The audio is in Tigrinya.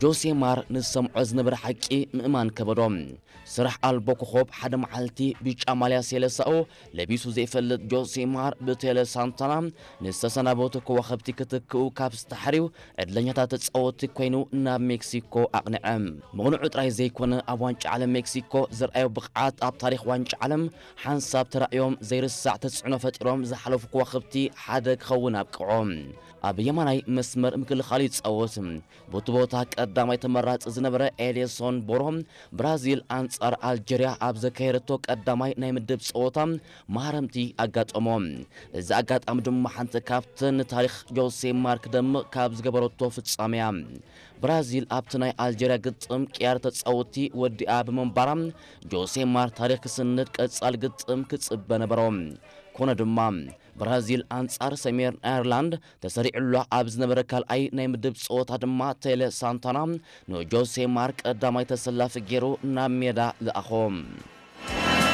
ጆሴ ማር ንዝሰምዖ ዝነበረ ሓቂ ምእማን ከበዶ። ስራሕ ኣልቦ ኮኾብ ሓደ መዓልቲ ብጫ ማልያ ሴለሳኡ ለቢሱ ዘይፈልጥ ጆሴ ማር ብቴለ ሳንታና ንዝተሰናበቱ ከዋኽብቲ ክትክኡ ካብ ዝተሓርዩ ዕድለኛታት ተጻወትቲ ኮይኑ ናብ ሜክሲኮ ኣቕንዐ። ምቕንዑ ጥራይ ዘይኮነ ኣብ ዋንጫ ዓለም ሜክሲኮ ዘርኣዮ ብቕዓት ኣብ ታሪኽ ዋንጫ ዓለም ሓንሳብ ተራእዮም ዘይርሳዕ ተጽዕኖ ፈጢሮም ዝሓለፉ ከዋኽብቲ ሓደ ክኸውን ኣብቅዖ። ኣብ የማናይ መስመር ምክልኻል ይጻወት። በቲ ቦታ ቀዳማይ ተመራጺ ዝነበረ ኤዴርሶን ቦሮ ብራዚል ኣንጻር ኣልጀርያ ኣብ ዘካየደቶ ቀዳማይ ናይ ምድብ ጸወታ ማህረምቲ ኣጋጠሞ። እዚ ኣጋጣሚ ድማ ሓንቲ ካብተን ንታሪኽ ጆሴ ማር ክደምቕ ካብ ዝገበረቶ ፍጻመያ። ብራዚል ኣብቲ ናይ ኣልጀርያ ግጥም ቅያር ተጻወትቲ ወዲኣ ብምንባራ ጆሴ ማር ታሪኽ ክስንድ ቀጻል ግጥም ክጽበ ነበሮ። ኮነ ድማ ብራዚል ኣንጻር ሰሜን ኣየርላንድ ተሰሪዑላ ኣብ ዝነበረ ካልኣይ ናይ ምድብ ጸወታ ድማ ቴለ ሳንታና ንጆሴ ማር ቀዳማይ ተሰላፊ ገይሩ ናብ ሜዳ ለኣኾ።